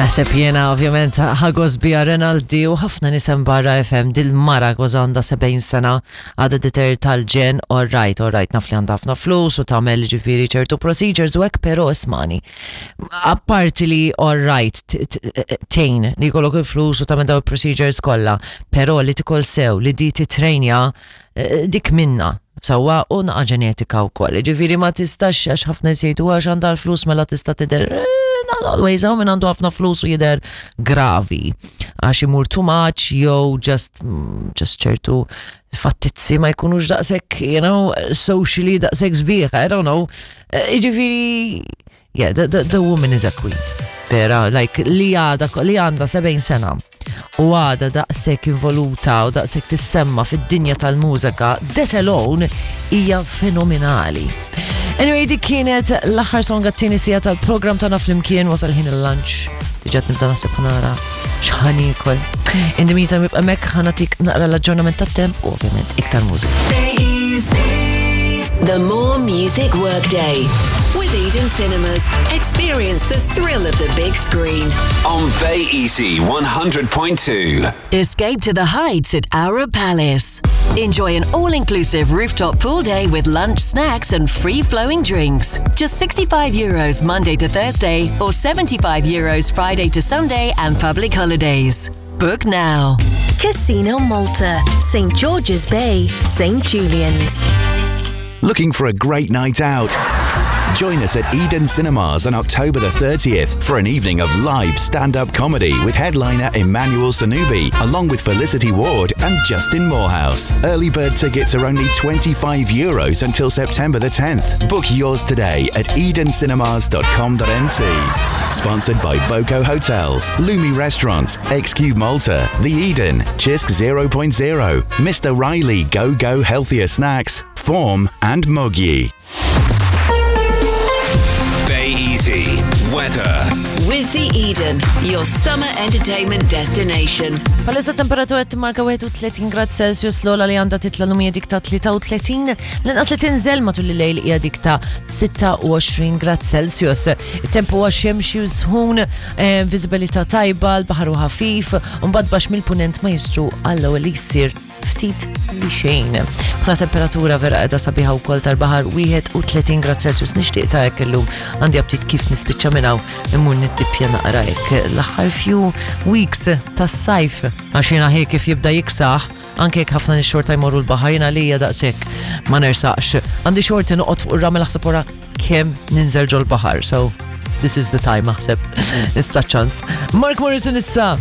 Naħseb jiena ovvjament ħagos bija Renaldi u ħafna nisem barra FM dil-mara kważi għandha 70 sena għadha diter tal-ġen all right, all right, naf li għandha ħafna flus u tagħmel ġifieri ċertu procedures u hekk però ismani. Apparti li all right tgħin li jkollok il-flus u tagħmel daw il-procedures kollha, però li tikol sew li di titrejnja eh, dik minna Sewwa u naqa' ġenetika wkoll. Ġifieri ma tistax għax ħafna nies jgħidu għax għandha l-flus mela tista' tidher eh, not always hawn min għandu ħafna flus u jidher gravi. Għax imur too much jew just mm, just ċertu fattizzi ma jkunux daqshekk, you know, socially daqshekk sbieħ, I don't know. Eh, ġifieri Yeah, the, the, the woman is a queen. Vera, like, li għada, li għanda 70 sena u għada daqsek involuta u daqsek tissemma fid-dinja tal-mużika, that alone hija fenomenali. Anyway, dik kienet l-aħħar song għat-tieni sija tal-program tagħna flimkien wasal ħin il-lunch. Diġà nibda naħseb ħanara x'ħan ikol. In the meantime ibqa' hemmhekk ħanatik naqra l-aġġornament tat-temp u ovvjament iktar mużika. The More Music Workday. With Eden Cinemas, experience the thrill of the big screen. On Bay Easy 100.2. Escape to the heights at Arab Palace. Enjoy an all inclusive rooftop pool day with lunch, snacks, and free flowing drinks. Just 65 euros Monday to Thursday or 75 euros Friday to Sunday and public holidays. Book now. Casino Malta, St. George's Bay, St. Julian's. Looking for a great night out? Join us at Eden Cinemas on October the 30th for an evening of live stand up comedy with headliner Emmanuel Sanubi, along with Felicity Ward and Justin Morehouse. Early bird tickets are only 25 euros until September the 10th. Book yours today at edencinemas.com.nt. Sponsored by Voco Hotels, Lumi Restaurant, XQ Malta, The Eden, Chisk 0.0, Mr. Riley Go Go Healthier Snacks, Form, and Mogi. Bay Easy. Weather. With the Eden, your summer entertainment destination. Palissa temperatura timmarka 31 grad Celsius l-ola li għandha titla l dik ta' 33, l-inqas li tinżel matul il-lejl hija dik ta' 26 grad Celsius. Il-temp huwa xemxi u sħun, eh, viżibilità tajba, l-baħar u ħafif, u mbagħad baxx mill-punent ma jistru għall-ewwel li jsir ftit li xejn. Bħala temperatura vera qiegħda sabiħa wkoll tal-baħar 31 grad Celsius nixtieq ta' hekk illum għandi aptit kif nispiċċa minn hawn immur nittippja naqra hekk l-aħħar few weeks tas-sajf għax jiena ħi kif jibda jiksaħ anke jekk ħafna nies xorta jmorru l-baħar jiena lija daqshekk ma nersaqx. Għandi xorti noqgħod fuq ir-ramel aħseb wara kemm ninżel ġol-baħar. So this is the time aħseb. Issa ċans. Mark Morrison issa.